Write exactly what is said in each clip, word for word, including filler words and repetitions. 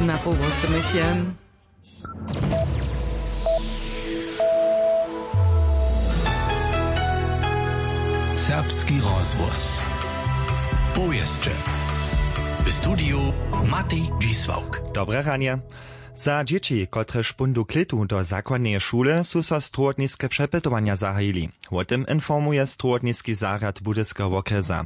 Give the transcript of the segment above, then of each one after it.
Na połowy myšljen. Serbski rozhłos. Powěsće. W studiju Matej Dźisławk. Dobre ranje. Za dźěći, kotrež póńdu klětu do zakładneje šule, su so strowotniske přepytowanja zahajili. Wo tym informuje strowotniski zarjad Budyskeho wokrjesa.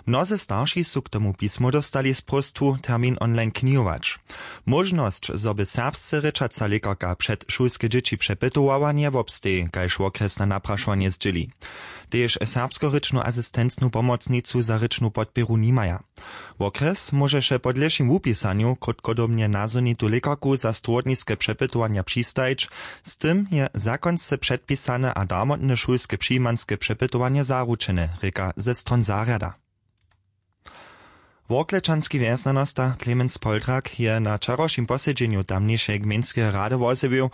Mnozy starši su k tomu pismo dóstali z próstwu termin online knihować. Móžnosć, zo by serbsce rěčaca lěkarka předšulske dźěći přepytowała, njewobsteji, kaž wokrjesne naprašowanje zdźěli. Tež serbskorěčnu asistencnu pomocnicu za rěčnu podpěru nimaja. Wokres móžeše po dlěšim wupisanju krótkodobnje nazhonitu lěkarku za strowotniske přepytowanja přistajić. Z tym je zakonsce předpisane a darmotne šulske přijimanske přepytowanje zaručene, rěka ze stron zarjada. Worklečanski wjesnjanosta Clemens Poldrak je na wčerawšim posedźenju tamnišeje gmejnskeje rady wozjewił,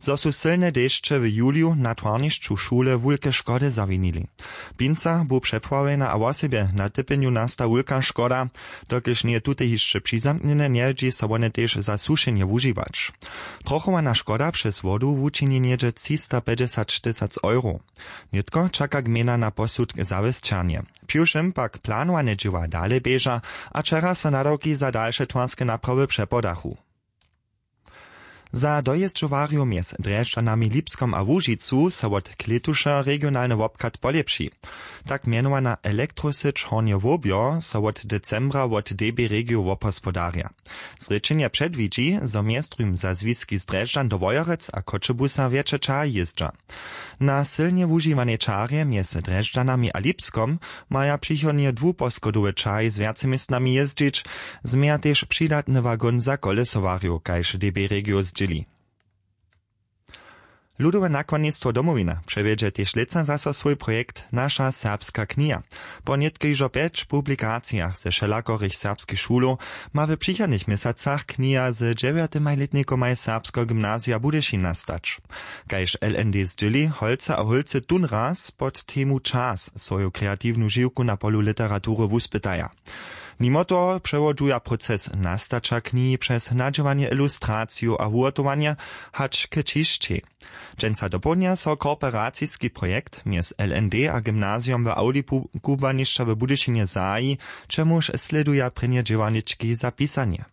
zo su sylne dešće w juliju na twarnišću šule wulke škody zawinili. Pinca bu přepławjena a wosebje na typjenju nasta wulka škoda. Dokelž njeje tute hišće přizamknjene, njewjedźi so wone tež za sušenje wužiwać. Trochowana škoda přez wodu wučini něhdźe třistapećdźesat tysac euro. Nětko čaka gmejna na posudk zawěsćernje. Přiwšěm pak planowane dźěła dale běža a wčera so nadawki za dalše twarske naprawy přepodachu. Za dojězdźowarjow mjez Drježdźanami, Lipskom a Łužicu so wot klětuša regionalny wobchad polěpši. Tak mjenowana elektrosyć Hornje Wobjo so wot decembra wot D B Regio wobhospodarja. Zrěčenje předwidźi, zo mjez druhim za zwiski z Drježdźan do Wojerec a Choćebuza wjetše čahi jězdźa. Na sylnje wužiwanej čarje mjez Drježdźanami a Lipskom maja přichodnje dwuposchodowe čahi z wjace městnami jězdźić. Změja tež přidatny wagon za kolesowarjow, kaž D B Regio zdźěli. Ludowe nakładnistwo Domowina přewjedźe tež lětsa zaso swój projekt Naša serbska kniha. Po nětko hižo pjeć publikacijach ze wšelakorych serbskich šulow ma w přichodnych měsacach kniha z dźewjatemaj lětnikomaj Serbskeho gymnazija Budyšin nastać. Kaž L N D zdźěli, holcy a hólcy tón raz pod temu Čas swoju kreatiwnu žiwku na polu literatury wuspytaja. Nimo toho přewodźuja proces nastaća knihi přez nadźěłanje, ilustracijow a wuhotowanje hač k ćišćej. Dźensa dopołdnja so kooperaciski projekt mjez L N D a gymnazijom w Awli kubłanišća w Budyšinje zahaji, čemuž slěduja prěnje dźěłarnički za pisanje.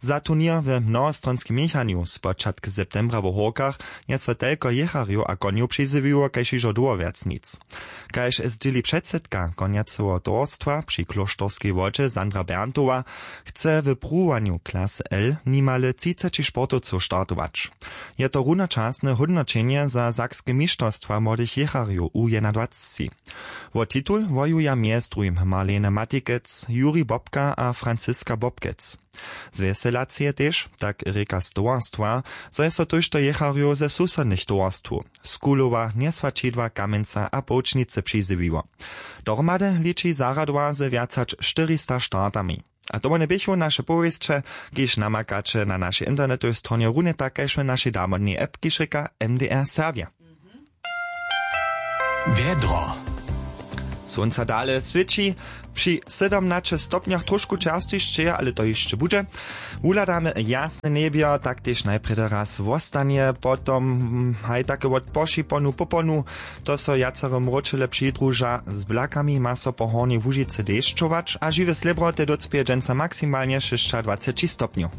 Za turněr we mnohostronskej měchanju spočatk septembra w Hórkach je so telko jěcharjow a konjow přizjewiło kaž hižo dołho wjac nic. Kaž zdźěli předsydka konjaceho towarstwa při klóšterskej wodźe Sandra Berntowa, chce w pruwowanju klasy L nimale třiceći sportowcow startować. Je to runočasne hódnoćenje za sakske mišterstwa młodych jěcharjow u jedynadwacci. Wo titul wojuja mjez druhim Marlene Matikec, Juri Bobka a Franziska Bobkec. Zwjeselaceje tež, tak rěka z towarstwa, zo je so tójšto jěcharjow ze susodnych towarstwow, z Kulowa, Njeswaćidła, Kamjenca a Połčnicy, přizjewiło. Dohromady liči zarjadowa ze wjac hač štyrista startami. A to wone běchu naše powěsće, kiž namakaće na našej internetowej stronje, runje tak kaž w našej damodnej app, kiž rěka M D R Serbja. Wjedro. Słónca dale swěći, při sydomnaće stopnjach trošku čerstwišće, ale to hišće budźe. Wuhladamy jasne njebjo, tak tež najprjedy raz wostanje, potom hm, haj take wot pošiponu poponu. To so wjacere mróčele přidruža, z blakami ma so po Hornjej Łužicy dešćować a žiwe slěbroty docpěje dźensa maksimalnje šěsćadwaceći stopnjow.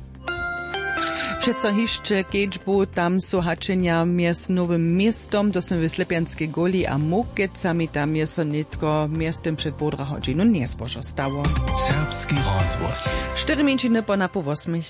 Přeco hišće kedźbu, tam su hačenja mjez Nowym Městom, to smy w Slepjanskej Góli, a Mokecami, tam je so nětko mjeztym před połdra hodźinu njezbožo stało. Serbski rozhłos. Štyri mjeńšiny po napoł wosmich.